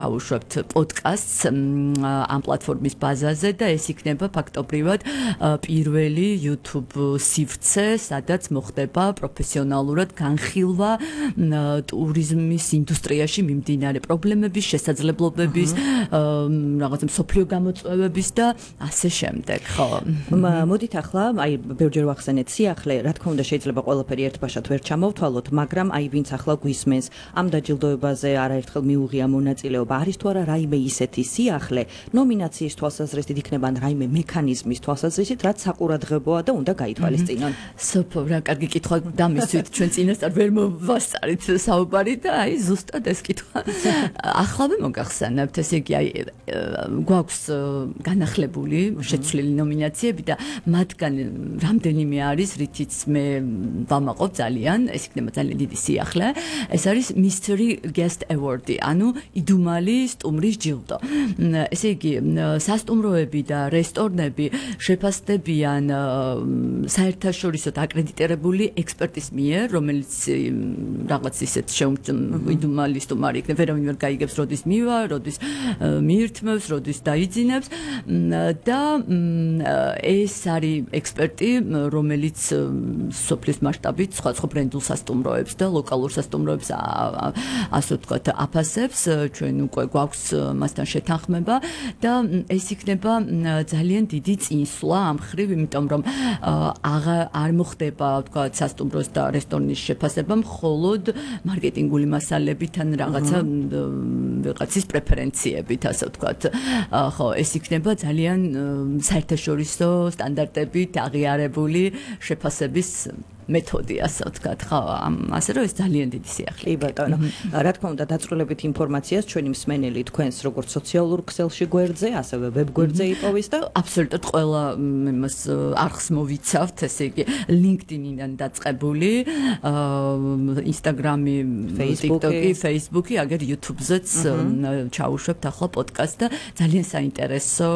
აუშვებთ პოდკასტს ამ პლატფორმის ბაზაზე და ეს იქნება ფაქტობრივად პირველი YouTube სივრცე, სადაც მოხდება პროფესიონალურად განხილვა ტურიზმის ინდუსტრიაში მიმდინარე პრობლემების, შესაძლებლობების, რაღაცა მსოფლიო გამოწვევების და ასე შემდეგ, ხო. მოდით ახლა, აი, ბევრჯერ ვახსენეთ სიახლე, რა თქმა უნდა შეიძლება ყველაფერი ერთბაშად ვერ ჩამოვთვალოთ, მაგრამ აი ვინც ახლა გვისმენს, ამ დაჯილდოებაზე არაერთხელ მიუღია მონაწილეობა, არის თუ არა რაიმე ისეთი სიახლე, ნომინაციის თვალსაზრისით იქნება ან რაიმე მექანიზმის თვალსაზრისით, რაც საყურადღებოა და უნდა გაითვალისწინონ. სოფო, რა კარგი კითხვა დამისვით ჩვენ წინასწარ ვერ მოვასწარით საუბარი და აი ზუსტად ეს კითხვა. ახლავე მოგახსენებთ, ესე იგი აი გვაქვს განახლებული შეცვლილი ნომინაციები და მათგან რამდენიმე არის, რითიც მე ვამაყობ ძალიან, ეს იქნება ძალიან დიდი სიახლე. ეს არის Mystery Guest Award-ი, ანუ იდუმალი სტუმრის ჯილდო. ესე იგი, სასტუმროები და რესტორნები შეფასდებიან საერთაშორისო აკრედიტირებული ექსპერტის მიერ, რომელიც რაღაც ისეთ იდუმალი სტუმარი იქნება, ვერავინ ვერ გაიგებს, როდის მივა, როდის მიირთმევს, როდის დაიძინებს და ეს არის ექსპერტი, რომელიც სოფლის მასშტაბით სხვა ბრენდულ სასტუმროებს და ლოკალურ სასტუმროებს ასე ვთქვათ აფასებს, ჩვენ უკვე გვაქვს მასთან შეთანხმება და ეს იქნება ძალიან დიდი წინსვლა ამ ხრივ, იმიტომ რომ არ მოხდება ვთქვათ სასტუმროს და რესტორნის შეფასება მხოლოდ მარკეტინგული მასალებით ან რაღაცის პრეფერენციებით, ასე ვთქვათ. ხო, ეს იქნება ძალიან საერთაშორისო სტანდარტებით აღიარებული შეფასების მეთოდი, ასე ვთქვათ, ხო, ასე რომ ეს ძალიან დიდი სიახლე. კი ბატონო. რა თქმა უნდა, დაწვრილებით ინფორმაციას ჩვენი მსმენელი თქვენს როგორც სოციალურ ქსელში გვერდზე, ასევე ვებ გვერდზე იპოვის და აბსოლუტურად ყველა იმას არხს მოვიცავთ, ესე იგი LinkedIn-იდან დაწყებული, Instagram-ი, TikTok-ი, Facebook-ი, აგერ YouTube-ზეც ჩაუშვებთ ახლა პოდკასტს და ძალიან საინტერესო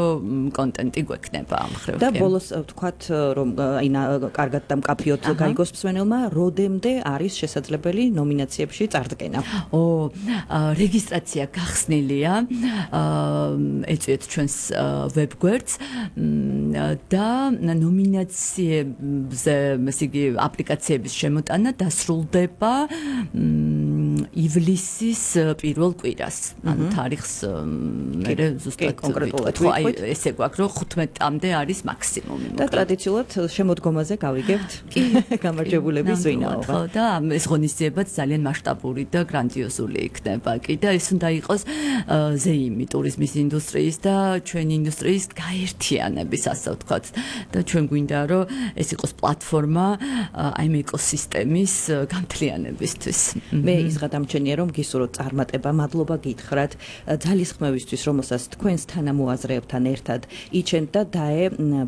კონტენტი გვექნება ამ ხრივ. და ბოლოს ვთქვათ, რომ აი კარგად და მკაფიოდ გაიგოს მსმენელმა, როდემდე არის შესაძლებელი ნომინაციებში წარდგენა? რეგისტრაცია გახსნილია, ეწვიეთ ჩვენს ვებგვერდს და ნომინაციებზე, ესე იგი, აპლიკაციების შემოტანა დასრულდება ივლისის პირველ კვირას. ანუ თარიღს მე ზუსტად კონკრეტულად ხო, აი ესე გვაქვს, რომ 15-მდე არის მაქსიმუმი. და ტრადიციულად შემოდგომაზე გავიგებთ. გამარჯვებულების ვინაობა. ხო, და ეს ღონისძიებაც ძალიან მასშტაბური და გრანდიოზული იქნება. კი და ეს უნდა იყოს ზეიმი ტურიზმის ინდუსტრიის და ჩვენი ინდუსტრიის გაერთიანების, ასე ვთქვათ. და ჩვენ გვინდა, რომ ეს იყოს პლატფორმა აი ეკოსისტემის გამთლიანებისთვის. მე ის გადამჩენია, რომ გისურვოთ წარმატება, მადლობა გითხრათ ძალისხმევისთვის, რომელსაც თქვენს თანამოაზრეებთან ერთად იჩენთ და დაე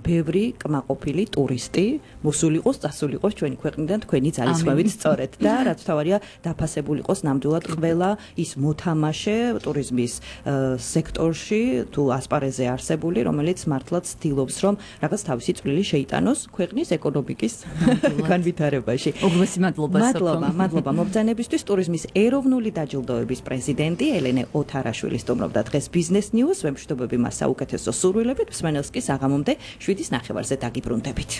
ბევრი კმაყოფილი ტურისტი მოსულიყოს, წასულიყოს ჩვენი ქვეყნიდან თქვენი ძალისხმევით სწორედ და რაც თავარია დაფასებულიყოს ნამდვილად ყველა ის მოთამაშე ტურიზმის სექტორში თუ ასპარეზზე არსებული, რომელიც მართლაც ცდილობს, რომ რაღაც თავისი წვლილი შეიტანოს ქვეყნის ეკონომიკის განვითარებაში. უღრმესი მადლობა. მადლობა მობრძანებისთვის. ტურიზმის ეროვნული დაჯილდოების პრეზიდენტი ელენე ოთარაშვილი სტუმრობდა დღეს Business News. ვემშვიდობები მას საუკეთესო სურვილებით. მსმენელს კი საღამომდე 7:09-ზე დაგიბრუნდებით.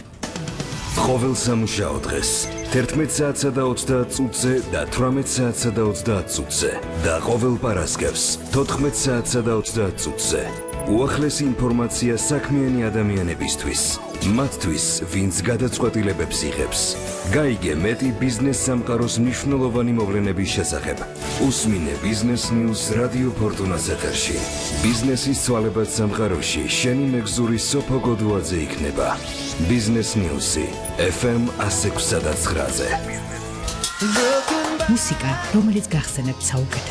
ყოველ სამუშაო დღეს 11 საათსა და 30 წუთზე და 18 საათსა და 30 წუთზე და ყოველ პარასკევს 14 საათსა და 30 წუთზე. უახლესი ინფორმაცია საქმიანი ადამიანებისთვის, მათთვის, ვინც გადაწყვეტილებებს იღებს. გაიგე მეტი ბიზნეს სამყაროს მნიშვნელოვანი მოვლენების შესახებ. უსმინე Business News რადიო ფორტუნას ეთერში. ბიზნესის ცვალებად სამყაროში შენი მეგზური სოფო გოდუაძე იქნება. Business News-ი FM 106.9-ზე. მუსიკა, რომელიც გახსენებთ საუკეთესო